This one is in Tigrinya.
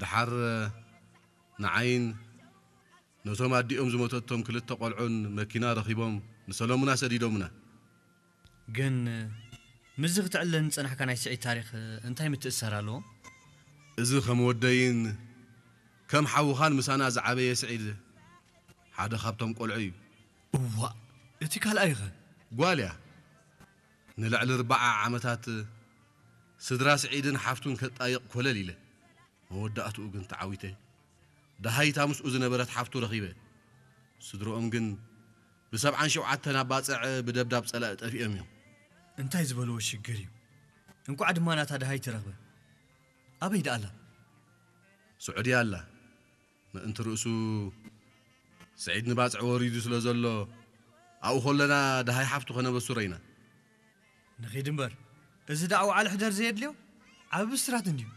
ደሓር ንዓይን ነቶም ኣዲኦም ዝሞተቶም ክልተ ቆልዑን መኪና ረኺቦም ንሰለሙና ሰዲዶምና። ግን ምስዚ ክትዕለል ዝጸናሕካ ናይ ስዒድ ታሪኽ እንታይ ምትእስሳር ኣለዎ? እዚ ከም ወደይን ከም ሓውኻን ምሳና ዝዓበየ ስዒድ ሓደ ካብቶም ቆልዑ እዩ። እዋ፣ እቲ ካልኣይኸ? ጓል እያ። ንልዕሊ ኣርባዓ ዓመታት ስድራ ስዒድን ሓፍቱን ከጣይቕ ኮለል ኢለ። መወዳእትኡ ግን ተዓዊተ። ደሃይታ ምስኡ ዝነበረት ሓፍቱ ረኺበ። ስድርኦም ግን ብሰብዓን ሸውዓተን ኣባጽዕ ብደብዳብ ጸላኢ ጠፊኦም እዮም። እንታይ ዝበልዎ ሽግር እዩ? እንቋዕ ድማ ናታ ደሃይቲ ረኽበ። ኣበይ ደኣ ኣላ? ስዑድያ ኣላ። ምእንቲ ርእሱ ስዒድ ንባጽዕ ወሪዱ ስለ ዘሎ ኣብኡ ከለና ደሃይ ሓፍቱ ከነበስሮ ኢና። ንኺድ እምበር፣ እዚ ደኣ ዋዕለ ሕደር ዘየድልዮ ዓቢ ብስራት እንድዩ።